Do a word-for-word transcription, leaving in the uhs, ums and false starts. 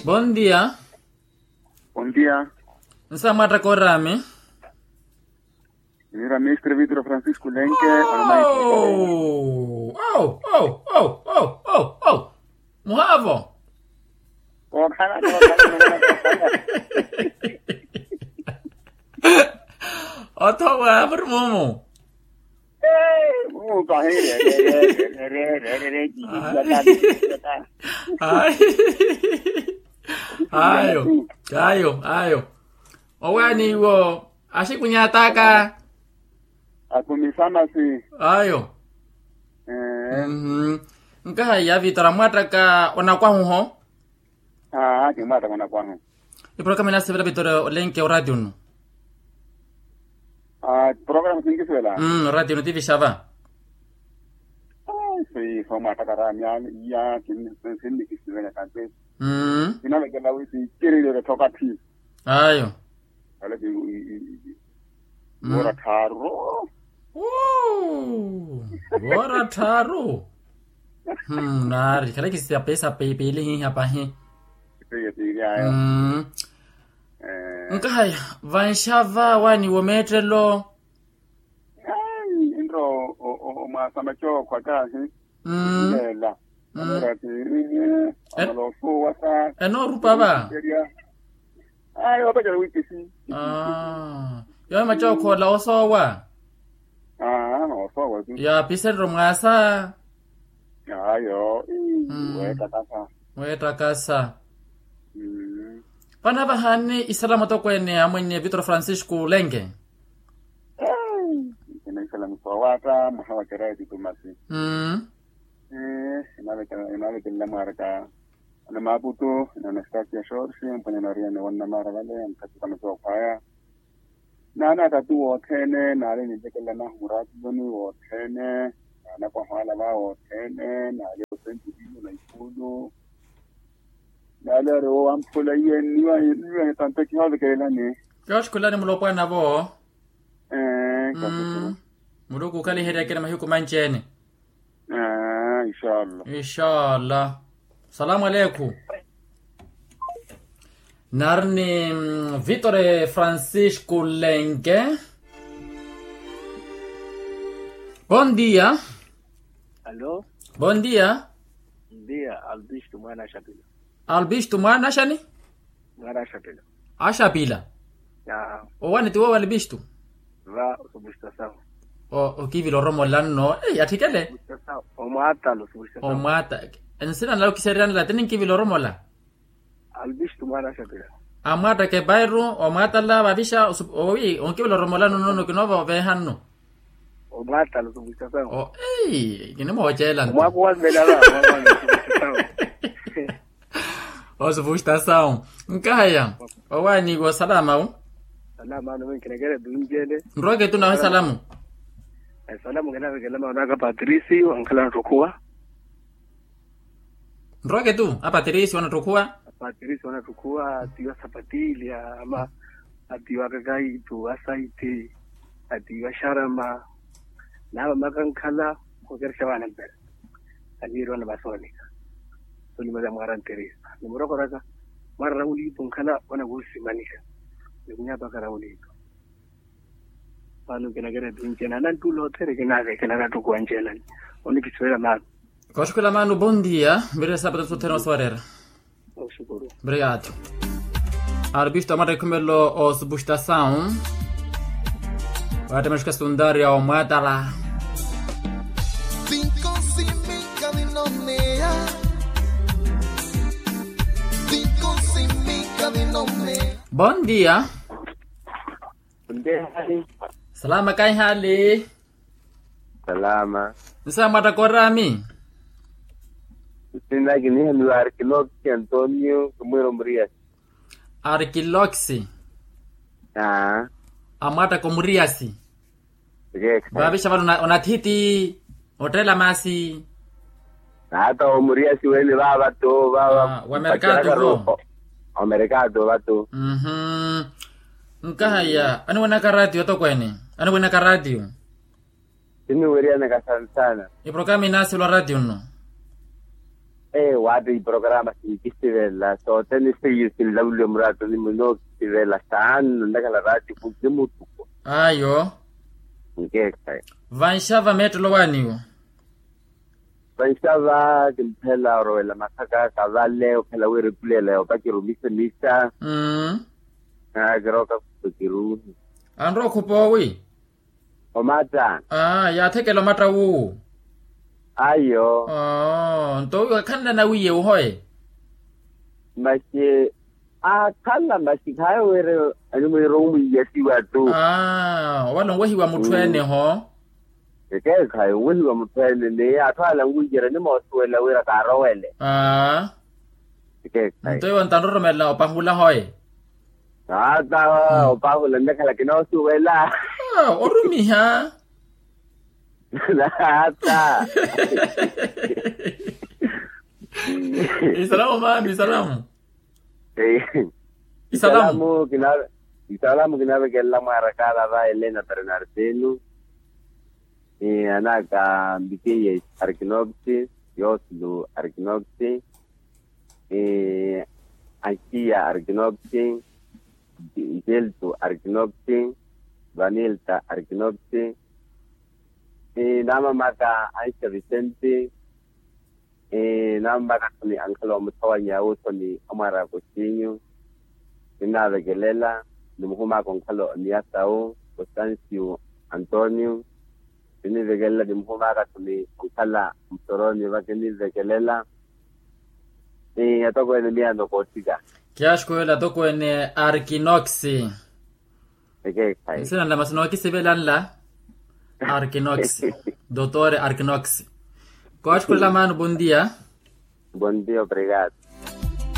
Bondia. Bondia. Nsa mwattaka orami? Nira mestre vitro francisco lenke. Muhavo. Otho wa muri mumu. Ayo, ayo, ayo. Owaani iwo axikunyataka. Akumisamasi. Ayo. Nkahaiya vitora mwattaka onakwahuho. Aa kimwattaka onakwahu. Iporokama inasivela vitora olenke oratiyunu. Porokama sinkisivela. Oratiyunu tivixava. Sii somwattaka rami iya. Sinnikisivela kantesi. Kinavekela wi sinciriliwe tokatthi. Ayo. Kale ki wora tharu. Wora tharu. Naari kale ki siya pesa piili hiha pahi. Piili ayo. Nkahaya vanxava wani womeettelo. Ai nro omwasa macookho akahi. Lela. Amala osuwa sa enoorupa va. Ai opacela wikisi. Yowe macookho ola osoowa. Aa osoowa tu. Yaapisererya omwasa. Ayo. Weettakasa. Weettakasa. Vano avahaani isalamu atokweene amwinni vitoro francisco lenke. Kinaisala musowata mwaha wa kereti tumasi. Inavekelela mwaraka ana maputu na anastasia shorsi mpwanya nariya ni wannamara vale ankhatuka masokhwaya. Naana akati wothene naali ninvekelela nahu muratiyoni wothene. Naana kwahwala va wothene naali osenjulino na ikulu. Naali ari wowamphula iye nniwa nitanto kihoovekelelani. Kihooxukhulani mulopwanavo. Muluku okhaliheryakene mahiku manci-ene. Inshallah. Inshallah. Salamu aleiku. Nari ni vitore francisco lenke. Bondia. Bondia. Bondia. Albistu mwana axapila. Albistu mwana axani? Mwana axapila. Axapila. Owaani ti wowo albistu. Va osupustasawu. Okivila oromola nno atthikele. Omwatala osupustasawu. Omwatala. Nsina nla okisereyanela ti ninkivila oromola. Albistu mwana axapila. Amwattaka epairu omwatala vavixa. Owi onkivela oromolano nono kinoova oveeha nno. Omwatala osupustasawu. Kinimooceela nto. Omwaka owavelela va. Osupustasawu. Nkahaya owaani iwo salamawu. Salamawu nroke tu nawe salamu. Salamu nkinavekela maunaka patrisi wankhala nattukhuwa. Nroke tu apatirisi wanattokhuwa. Apatirisi wanattokhuwa atiiwa sapatili ama atiiwa akakaitu asaiti atiiwa axarama. Naava makankhala okerexa vaana mpera aniiriwa na vasoonika. Solima za mwaara ntirisa nimurokoraka mwaara rawuliitu nkhala wanakuusimanika. Nikunyaapaka rawuliitu. Maano nkinakeretu ncena ananttula othene kinaavekela anattukuwa ncena. Onikisivela maano. Kooxukhula maano bondia. Mvirire saapata sothene osoorera. Obrigado. Arbistu amwatta ekhumelo osupustasawu. Waattema exuka stundaria omwatala. Bondia. Salama kaihali. Salama. Nsa mwattaka orami? Nsinaki nihamiwa arkiloxi antonio kimwira omuriyasi. Arkiloxi. Amwattaka omuriyasi. Vavixa vano onathiti ottela masi. Naata omuriyasi wene vava to vava wamerkatu vo. Omerkatu vatu. Nkahaya aniwenaka ratio atokweene. Aniwenaka ratio. Siniweriyanaka sansana. Iprokama inaasilwa ratio nno. Ee waati iporokaraama sinkisivela sothene seiyo sinlavuliwa muraatoni munookisivela saanno nnakhala raatiku ni mutuko. Ayo. Nkeekhayi. Vanxava meettelo waaniwo. Vanxava kimphela orowela masaka kavale ophela wira epulela yoopa kirumise misa. Naakirooka khuto kiruuhe. Anrowa okhupa owi. Omatta. Aa yaathekela omatta wuwo. Ayo. Oo nto wiiwa khanna nawiiye wuhoye. Maxi aakhala maxi khaayo wira animwiira omwiiyasiwa tu. Aa owala onwehiwa mutthu ene ho. Ekeekhayi onwehiwa mutthu ene ni atthu ala onwiiyerya onimoosuwela wira kaarowele. Aa. Ekeekhayi nto iwe ontanroromela opahula hoye. Naata opahula nnakhala kinoosuwela. Orumiha. Naata. Isalamu maami isalamu. Isalamu. Isalamu kinavekelela mwaarakaala va elena bernardino. Anaaka mbikiye arkinokti, yoslu arkinokti, anxiya arkinokti, geltu arkinokti, vanilta arkinokti, naamamaka anxiya vicenti. Naamamaka akhumi ankhala omuthawanya wuuthoni amwaara a koxinyu. Ninaavekelela nimuhumaka onkhala oniyasa wu kostansiyu antonio. Ninivekelela nimuhumaka akhumi onkhala musoroni vaka enivekelela. Atokweene miyaano koothika. Kiyaxukuwela atokweene arkinoxi. Nsina nla masina ookisivela nla. Arkinoxi. Dotor arkinoxi. Kooxukulela maano bondia. Bondia obrigado.